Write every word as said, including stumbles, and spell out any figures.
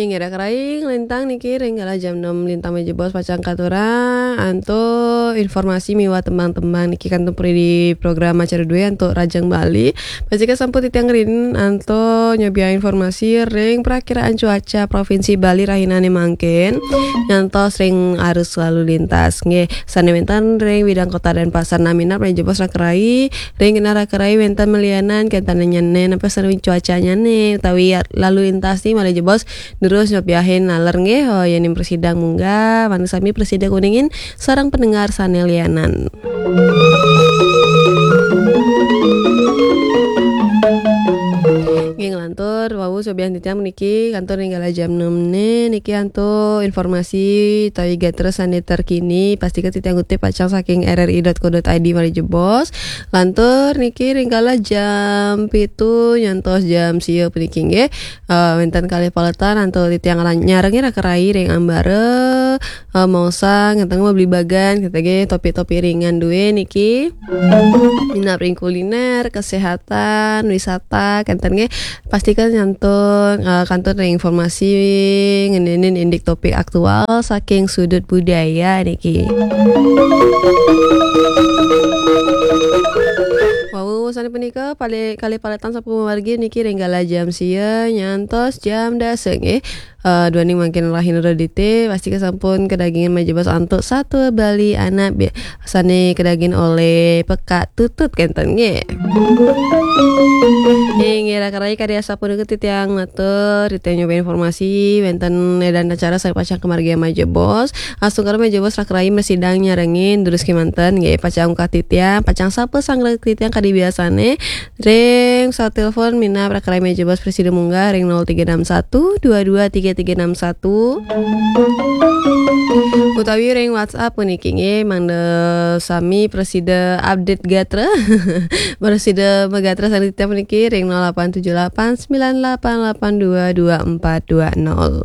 Ngira kerai lintang niki ring kala jam enam lintang malih jebos pacang katurang antuk informasi miwah tembang-tembang niki kantun puri di program acara dua antuk Rajang Bali. Pastika sampun titiang rin antuk nyobiahang informasi ring prakiraan cuaca Provinsi Bali rahinane mangkin ngantos ring arus lalu lintas. Nggih, sane wenten ring widang Kota Denpasar. Nah, minab malih jebos raka rai, ring genah raka rai wenten malianan kenten nyane napa sane cuacanyane utawi lalu lintas ni malih jebos terus nyobiahin naler nggih. Oh, yening prasida munggah, mangda sami prasida nguningin sareng pendengar sane lianan. Nggih, nglantur wau nyobiahang titiang niki kantun ring kala jam enam ne niki antuk informasi utawi gatra sane terkini, pastika titiang ngutip pacang saking R R I dot co dot I D malih jebos. Lantur niki ring kala jam pitu nyantos jam sia puniki nggih. Eh, wenten kalih paletan antuk titiang lan-, nyarengin raka rai ring ambara, eh, maosang, ngenten mabligbagan, ngenten nggih, topik-topik ringan due niki. Minab ring kuliner, kesehatan, wisata, kenten nggih. Pastika nyantun, eh, kantun ring informasi ngenenin indik topik aktual saking sudut budaya niki. Wau, sane punika pale-, kalih paletan sampun mamargi niki ring kala jam sia nyantos jam dasa nggih. Eh, duaning mangkin rahina Redite, pastika sampun kadagingan malih jebos antuk satua Bali anak bi-, sane kadagingin olih pekak tutut kenten nggih. Inggih, raka rai kadi asapunika titiang matur, titiang nyobiahang informasi wenten ring acara sane pacang kamargiang malih jebos. Astungkara malih jebos raka rai mrasidang nyarengin durus kemanten nggih, pacang ungkal titiang, pacang sapa sareng titiang kadi biasane. Ring pesawat telepon minab raka rai malih jebos prasida munggah ring nol tiga enam satu dua dua tiga tiga enam satu. Utawi ring WhatsApp puniki nggih, mangda sami prasida update gatra. Prasida magatra sareng titiang puniki ring nol delapan tujuh delapan sembilan delapan delapan dua dua empat dua nol.